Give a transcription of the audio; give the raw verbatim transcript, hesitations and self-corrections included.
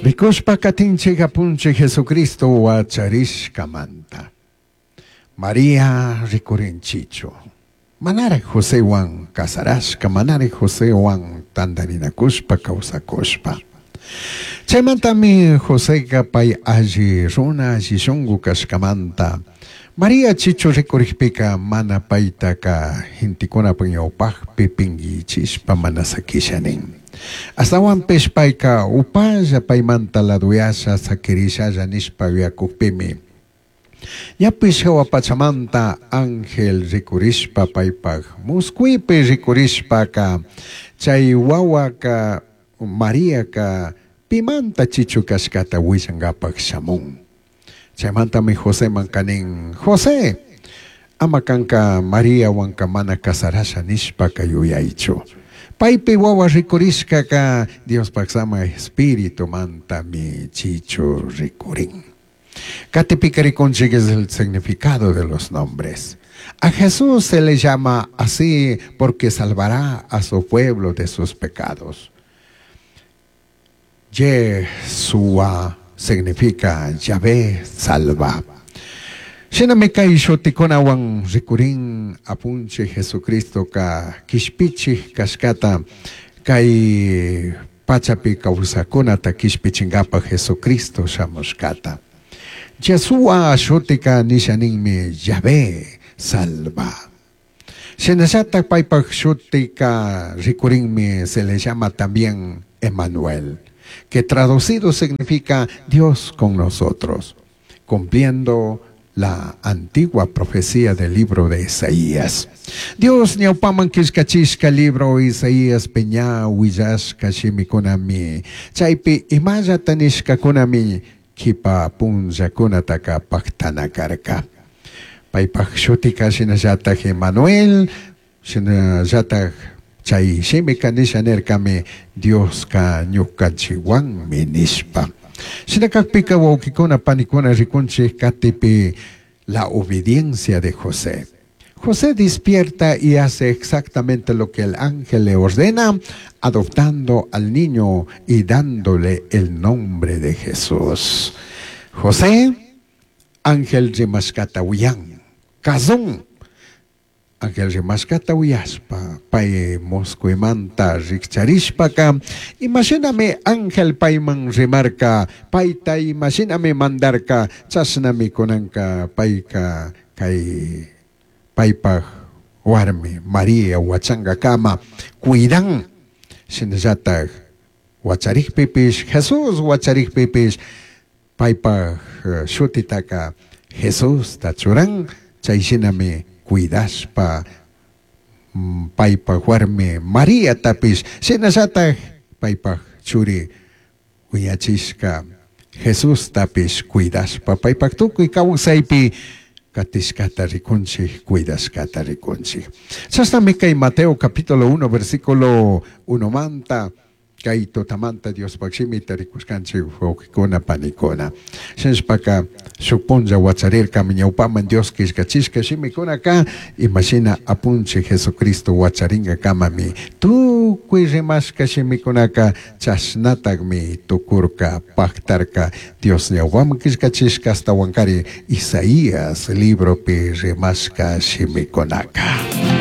Rikushpa katinchik apunchik Jesucristo wacharishkamanta. María rikurinchichu. Manaraj Josewan casarashka, manaraj Josewan tandarinakushpa kawsakushpa. Chaymantami Joseqa pay alli runa alli shunku kashkamanta. María chichu rikurikpika mana paytaka gentekunapaq ñawpaqpi pinkichishpa mana sakisha nin. Ashtawanpish payka upalla paymanta laduyasha sakirishalla nishpa yuyakukpimi. Ñapish hawa pachamanta ángel rikurishpa paypaq muskuypi rikurishpaka chay wawaka Mariaka pimanta chichu kashkata willankapak shamun. Chaymantami Joseman nin, José, ama kanka Mariawanka mana casarasha nishpaka yuyaychu. Paypi wawa rikurishkaka Diospaq sama espíritu mantami chichu rikurin. Katipika rikunchik es el significado de los nombres. A Jesús se le llama así porque salvará a su pueblo de sus pecados. Yeshua significa Yahvé salva. Shinami kay shutikunawan rikurin apunchik Jesucristo ka kishpichik kashkata kay pachapi kawsakunata kishpichinkapa Jesucristo shamushkata. Yeshua shutika nisha ninmi Yahvé salva. Shinallatak paypak shutika rikurinmi se le llama también Emanuel, que traducido significa Dios con nosotros, cumpliendo la antigua profecía del libro de Isaías. Dios ñawpaman killkachishka libro Isaías ña willashka shimikunami, chaypi imallata nishkakunami kipa punllakunataka paktana karka. Paypak shutika shinallatak Emanuel, shinallatak chay shimika nisha nirkami Dioska ñukanchikwanmi nishpa. Shinakakpika wawkikuna panikuna rikunchik katipi la obediencia de José. José despierta y hace exactamente lo que el ángel le ordena, adoptando al niño y dándole el nombre de Jesús. José, ángel rimashkata uyan, kazun. Ángel rimashkata uyashpa, pay muskuymanta rikcharishpaka, imashinami ángel payman rimarka, payta imashinami mandarka, chashnami kunanka payka kay paypaj warmi María wachankakama cuidan, shinallatak wacharikpipish Jesús wacharikpipish paypaj shutitaka Jesusta churan, chay shinami cuidashpa paypaj warmi Mariatapish shinallatak paypaj churi wiñachishka Jesustapish cuidashpa paypaj tukuy kawsaypi katishkata rikunchik, cuidashkata rikunchik. Chashnami kay Mateo capítulo uno versículo uno manta kay tutamanta Diospaj shimita rikushkanchik wawkikuna panikuna. Shinashpaka shuk punlla wacharirkami ñawpaman Dios killkachishka shimikunaka imashina apunchik Jesucristo wacharinkakamami tukuy rimashka shimikunaka chashnatakmi tukurka paktarka Dios ñawpaman killkachishka ashtawankari Isaías libropi rimashka shimikunaka.